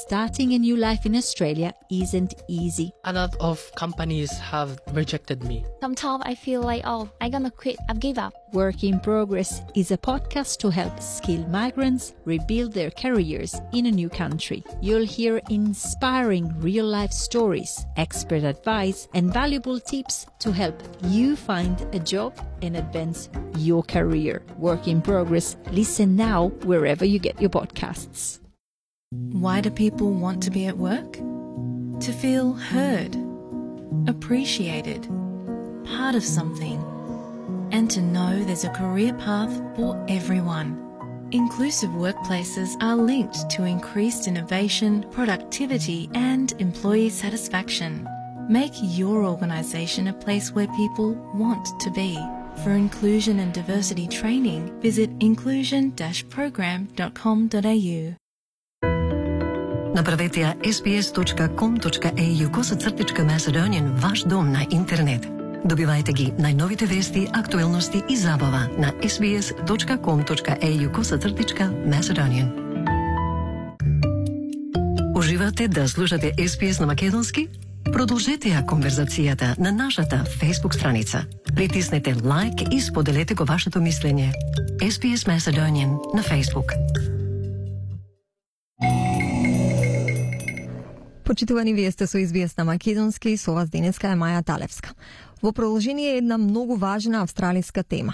starting a new life in Australia isn't easy. A lot of companies have rejected me. Sometimes I feel like, I'm gonna quit, I've give up. Work in Progress is a podcast to help skilled migrants rebuild their careers in a new country. You'll hear inspiring real-life stories, expert advice, and valuable tips to help you find a job and advance your career. Work in Progress. Listen now wherever you get your podcasts. Why do people want to be at work? To feel heard, appreciated, part of something, and to know there's a career path for everyone. Inclusive workplaces are linked to increased innovation, productivity, and employee satisfaction. Make your organisation a place where people want to be. For inclusion and diversity training, visit inclusion-program.com.au. Направете ја sbs.com.au/Macedonian ваш дом на интернет. Добивајте ги најновите вести, актуелности и забава на sbs.com.au/Macedonian. Уживате да слушате SBS на македонски? Продолжете ја конверзацијата на нашата Facebook страница. Притиснете лайк и споделете го вашето мислење. SBS Macedonian на Facebook. Почитувани, вие сте со SBS на македонски и со вас денеска е Маја Талевска. Во продолжение е една многу важна австралиска тема.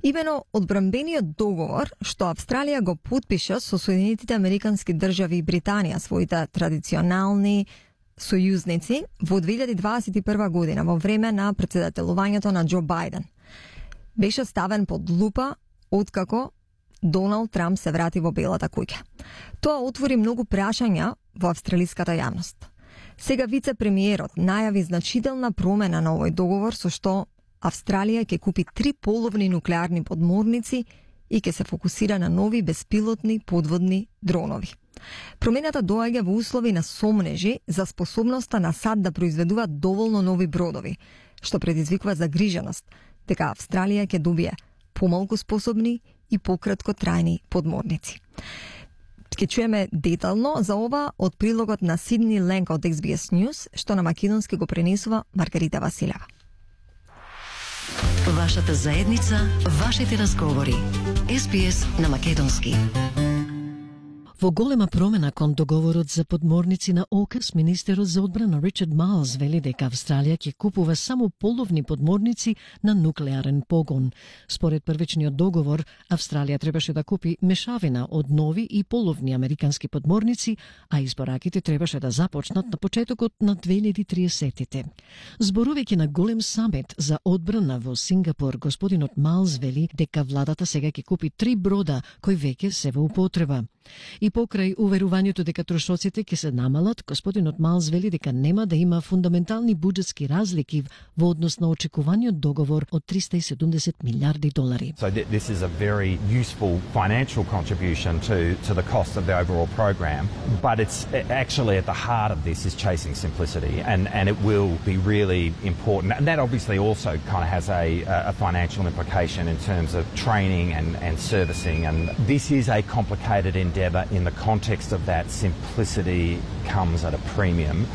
Имено одбранбениот договор што Австралија го потпиша со Соединетите Американски држави и Британија, своите традиционални сојузници, во 2021 година во време на претседателувањето на Џо Бајден. Беше ставен под лупа откако Доналд Трамп се врати во Белата куќа. Тоа отвори многу прашања во австралиската јавност. Сега вице-премиерот најави значителна промена на овој договор со што Австралија ќе купи 3 половни нуклеарни подморници и ќе се фокусира на нови беспилотни подводни дронови. Промената доаѓа во услови на сомнежи за способноста на САД да произведува доволно нови бродови, што предизвикува загриженост дека Австралија ќе добие помалку способни и пократко трајни подморници. Ке чуеме детално за ова од прилогот на Сидни Ленк од SBS News, што на македонски го пренесува Маргарита Василева. Вашата заедница, вашите разговори. SBS на македонски. Во голема промена кон договорот за подморници на ОКС, министерот за одбрана Ричард Майлс вели дека Австралија ќе купува само половни подморници на нуклеарен погон. Според првичниот договор, Австралија требаше да купи мешавина од нови и половни американски подморници, а испораките требаше да започнат на почетокот на 2030-тите. Зборувајќи на голем самит за одбрана во Сингапур, господинот Майлс вели дека владата сега ќе купи 3 брода кои веќе се во употреба. И покрај уверувањето дека трошоците ќе се намалат, господинот Майлс вели дека нема да има фундаментални буџетски разлики во однос на очекуваниот договор од $370 милиарди. So this is a very useful financial contribution to the cost of the overall program, but it's actually at the heart of this is chasing simplicity, and it will be really important. And that obviously also kind of has a financial implication in terms of training and servicing, and this is a complicated endeavour. In the context of that, simplicity comes at a premium.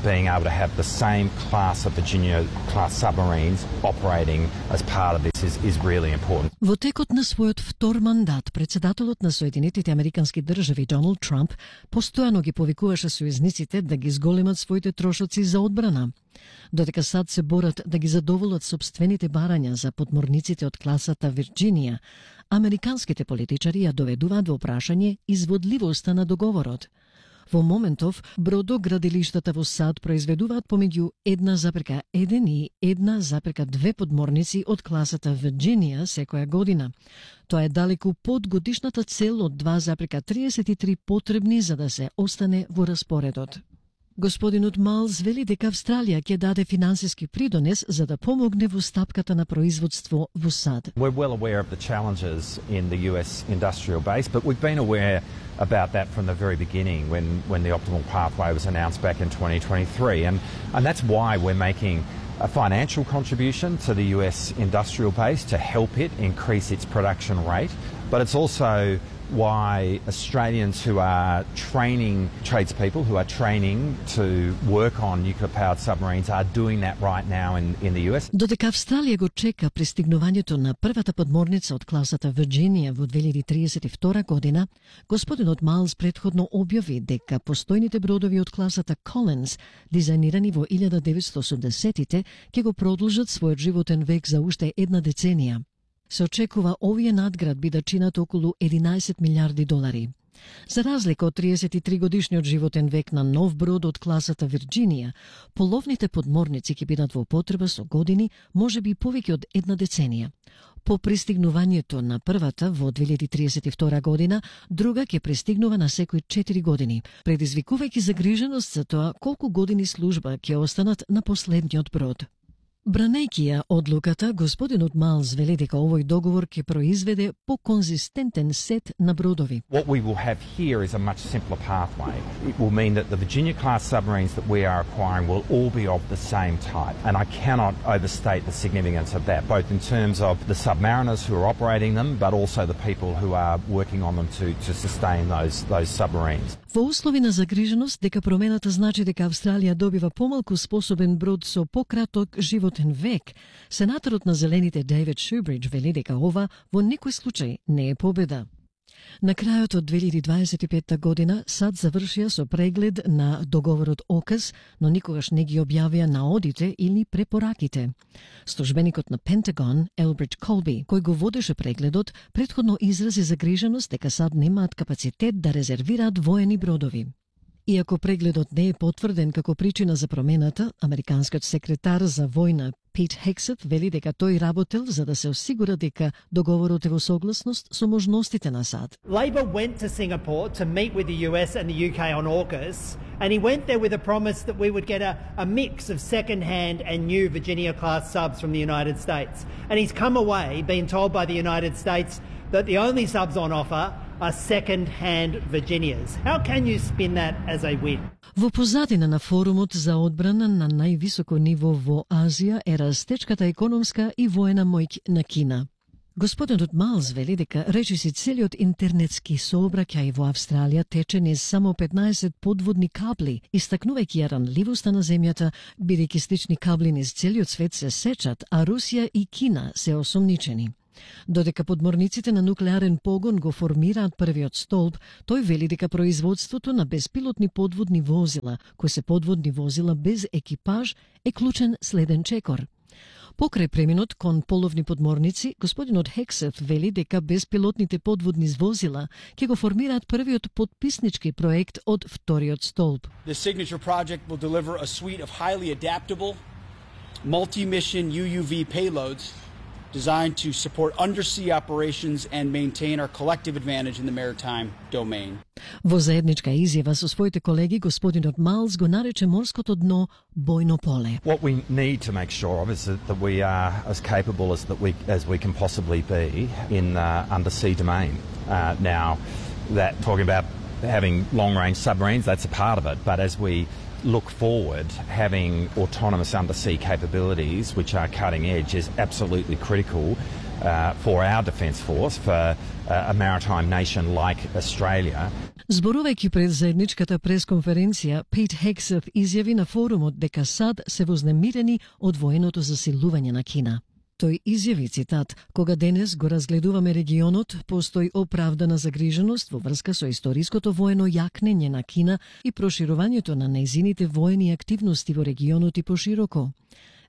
Being able to have the same class of Virginia-class submarines operating as part of this is really important. Во текот на својот втор мандат, председателот на Соединетите Американски држави Доналд Трамп постојано ги повикуваше сојузниците да ги зголемат своите трошоци за одбрана. Додека САД се борат да ги задоволат собствените барања за подморниците од класата Вирџинија, американските политичари ја доведуваат во прашање изводливоста на договорот. Во моментов, бродоградилиштата во САД произведуваат помеѓу 1,1 и 1,2 подморници од класата Вирџинија секоја година. Тоа е далеку под годишната цел од 2,33 потребни за да се остане во распоредот. Господинот Майлс вели дека Австралија ќе даде финансиски придонес за да помогне во стапката на производство во САД. We're well aware of the challenges in the US industrial base, but we've been aware about that from the very beginning when the optimal pathway was announced back in 2023. And that's why we're making a financial contribution to the US industrial base to help it increase its production rate. But it's also why Australians who are training tradespeople, who are training to work on nuclear-powered submarines are doing that right now in the US. Додека Австралија го чека пристигнувањето на првата подморница од класата Вирџинија во 2032 година, господинот Майлс претходно објави дека постојните бродови од класата Collins, дизајнирани во 1980-тите, ќе го продолжат својот животен век за уште една деценија. Се очекува овие надградби да чинат околу 11 милиарди долари. За разлика од 33 годишниот животен век на нов брод од класата Вирџинија, половните подморници ќе бидат во употреба со години, можеби повеќе од една деценија. По пристигнувањето на првата во 2032 година, друга ќе пристигнува на секои 4 години, предизвикувајќи загриженост за тоа колку години служба ќе останат на последниот брод. Бранејќи ја одлуката, господинот Майлс вели дека овој договор ќе произведе поконзистентен сет на бродови. What we will have here is a much simpler pathway. It will mean that the Virginia-class submarines that we are acquiring will all be of the same type. And I cannot overstate the significance of that, both in terms of the submariners who are operating them, but also the people who are working on them to sustain those submarines. Во услови на загриженост дека промената значи дека Австралија добива помалку способен брод со пократок животен век, сенаторот на Зелените Дейвид Шубридж вели дека ова во никој случај не е победа. На крајот од 2025 година САД завршија со преглед на договорот ОКАС, но никогаш не ги објавија наодите или препораките. Службеникот на Пентагон, Елбридж Колби, кој го водеше прегледот, претходно изрази загриженост дека САД немаат капацитет да резервираат воени бродови. Иако прегледот не е потврден како причина за промената, американскиот секретар за војна Пит Хексет вели дека тој работел за да се осигура дека договорот е во согласност со можностите на САД. Labor went to Singapore to meet with the US and the UK on AUKUS, and he went there with a promise that we would get a mix of second-hand and new Virginia-class subs from the United States. And he's come away being told by the United States that the only subs on offer are second-hand Virginias. How can you spin that as a win? Во позадина на форумот за одбрана на највисоко ниво во Азија е растечката економска и воена моќ на Кина. Господинот Майлс вели дека речиси целиот интернетски сообраќај во Австралија тече низ само 15 подводни кабли, истакнувајќи ја ранливоста на земјата, бидејќи слични кабли низ целиот свет се сечат, а Русија и Кина се осомничени. Додека подморниците на нуклеарен погон го формираат првиот столб, тој вели дека производството на безпилотни подводни возила, кои се подводни возила без екипаж, е клучен следен чекор. Покрај преминот кон половни подморници, господинот Хексет вели дека безпилотните подводни возила ќе го формираат првиот подписнички проект од вториот столб. The signature project will deliver a suite of highly adaptable, multi-mission UUV payloads designed to support undersea operations and maintain our collective advantage in the maritime domain. Во заедничка изјава со своите колеги, господинот Майлс го нарече морското дно бојно поле. What we need to make sure of is that we are as capable as we can possibly be in undersea domain. Now, that talking about having long-range submarines, that's a part of it, but as we look forward, having autonomous undersea capabilities, which are cutting edge, is absolutely critical for our defence force, for a maritime nation like Australia. Зборувајќи пред заедничката пресконференција, Пит Хексет изјави на форумот дека САД се вознемирени од военото засилување на Кина. Тој изјави, цитат, кога денес го разгледуваме регионот, постои оправдана загриженост во врска со историското воено јакнење на Кина и проширувањето на нејзините воени активности во регионот и пошироко.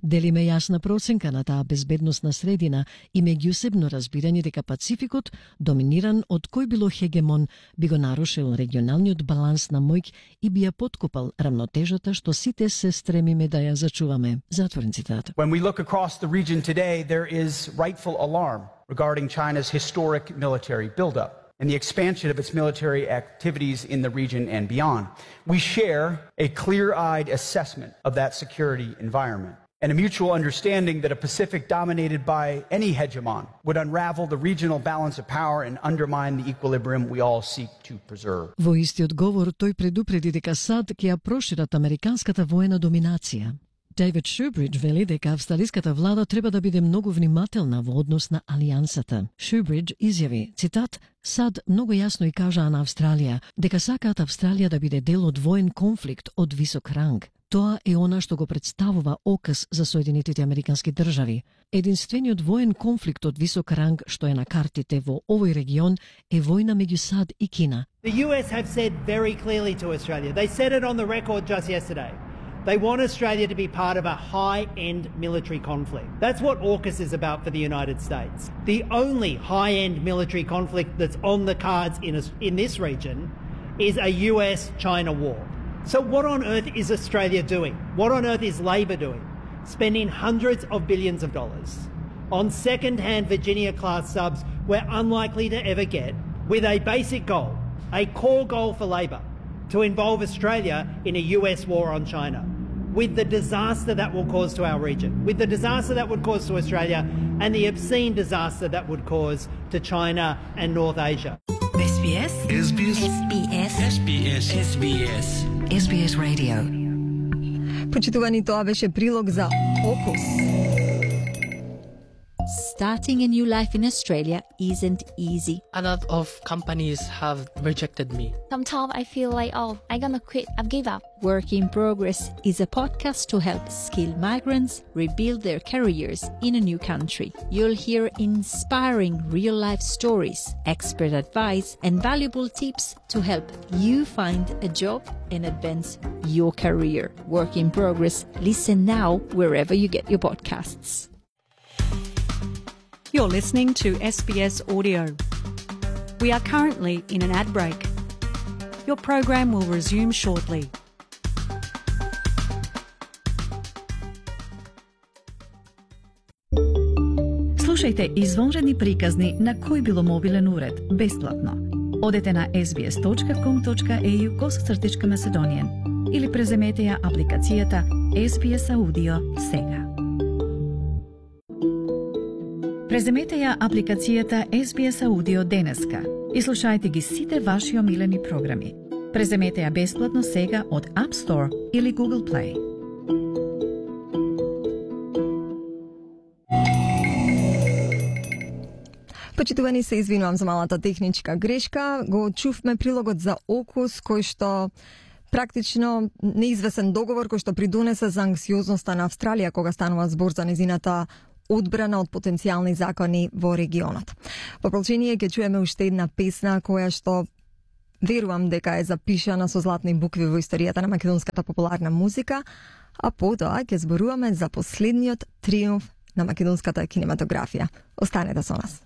Делиме јасна проценка на таа безбедносна средина и меѓусебно разбирање дека Пацификот, доминиран од кој било хегемон, би го нарушил регионалниот баланс на моќ и би ја поткопал рамнотежата што сите се стремиме да ја зачуваме. Затворен цитат. When we look across the region today, there is rightful alarm regarding China's historic military buildup and the expansion of its military activities in the region and beyond. We share a clear-eyed assessment of that security environment and a mutual understanding that a Pacific dominated by any hegemon would unravel the regional balance of power and undermine the equilibrium we all seek to preserve. Во истиот говор тој предупреди дека САД ќе ја прошират американската воена доминација. David Shoebridge вели дека австралиската влада треба да биде многу внимателна во однос на алијансата. Shoebridge изјави, цитат, "Сад многу јасно и кажаа на Австралија дека сакаат Австралија да биде дел од воен конфликт од висок ранг. Тоа е она што го представува ОКС за Соединетите Американски држави. Единствениот воен конфликт од висок ранг што е на картите во овој регион е војна меѓу САД и Кина." The US have said very clearly to Australia, they said it on the record just yesterday, they want Australia to be part of a high-end military conflict. That's what AUKUS is about for the United States. The only high-end military conflict that's on the cards in this region is a US-China war. So what on earth is Australia doing? What on earth is Labor doing? Spending hundreds of billions of dollars on second-hand Virginia-class subs we're unlikely to ever get, with a basic goal, a core goal for Labor, to involve Australia in a US war on China, with the disaster that will cause to our region, with the disaster that would cause to Australia, and the obscene disaster that would cause to China and North Asia. SBS. SBS. SBS. SBS. SBS. SBS Radio. Почитувани, тоа беше прилог за ОКУС. Starting a new life in Australia isn't easy. A lot of companies have rejected me. Sometimes I feel like, I'm gonna quit. I've give up. Work in Progress is a podcast to help skilled migrants rebuild their careers in a new country. You'll hear inspiring real-life stories, expert advice, and valuable tips to help you find a job and advance your career. Work in Progress. Listen now wherever you get your podcasts. You're listening to SBS Audio. We are currently in an ad break. Your program will resume shortly. Слушајте извонредни приказни на кој било мобилен уред, бесплатно. Одете на sbs.com.au/Macedonian или преземете ја апликацијата SBS Audio сега. Преземете ја апликацијата SBS Audio денеска и слушајте ги сите ваши омилени програми. Преземете ја бесплатно сега од App Store или Google Play. Почитувани, се извинувам за малата техничка грешка. Го чувме прилогот за ОКУС, кој што практично неизвесен договор кој што придонесе за анксиозноста на Австралија кога станува збор за незината одбрана од потенцијални закони во регионот. Во продолжение ќе чуеме уште една песна која што верувам дека е запишана со златни букви во историјата на македонската популарна музика, а потоа ќе зборуваме за последниот триумф на македонската кинематографија. Останете со нас.